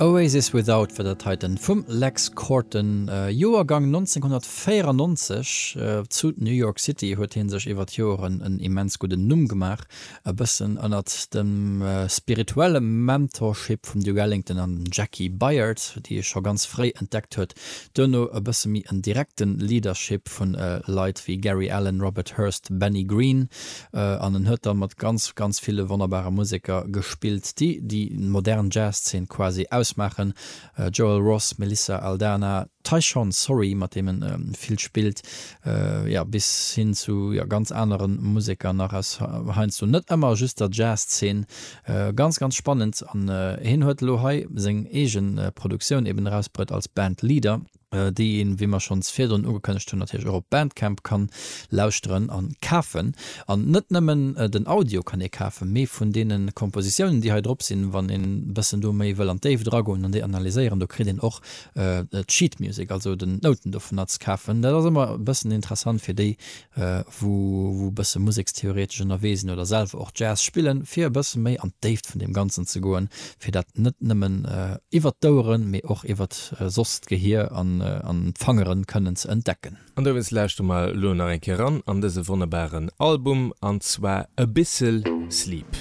Oasis Without war dat heiten vum Lex Korten, Joergang 1994. Zu New York City huet hie sech iwwer d'Joeren en immens gudden Numm gemaach, e bëssen ënnert dem spirituelle Mentorship vum Duke Ellington an dem Jaki Byard, déi e scho ganz fréi entdeckt huet. Duerno e bësse méi en direkte Leadership vu Leit wéi Gary Allan, Robert Hurst, Benny Green. An en huet da mat ganz, ganz ville wonnerbare Museker gespillt, déi déi modern Jazz-Zeen quasi ausmaachen, Joel Ross, Melissa Aldana, Tyshawn Sorey, mat deem en vill spillt, jo, bis hin zu, jo, ganz anere Museker nach aus heiansdo net ëmmer just der Jazz-Zeen. Ganz, ganz spannend. An hien huet elo hei seng eege Produktioun eben erausbruet als Bandleader. déi een, wéi mer schonns virdrun ugekënnegt hunn, natierlech och op Bandcamp kann lauschteren an kafen. An net nëmmen den Audio kann ee kafen, mee vun deene Kompositiounen, déi hei drop sinn, wann een bëssen do méi wëll an d'Déift eragoen an déi analyséieren, do kritt een och d'Sheet Music, also den d'Nouten dovunner ze kafen. Dat ass ëmmer e bëssen interessant fir déi, wou wou e bësse musekstheoretesch ënnerwee sinn oder selwer och Jazz spillen, fir e bësse méi an d'Déift vun deem Ganzen ze goen, fir dat net nëmmen iwwert d'Oueren, mee och iwwert soss d'Gehier an an d'Fangeren kënnen ze entdecken. An dowéinst lauschtere mer elo nach eng Kéier eran an dëse wonnerbaren Album, an zwar Abyssal Sleep.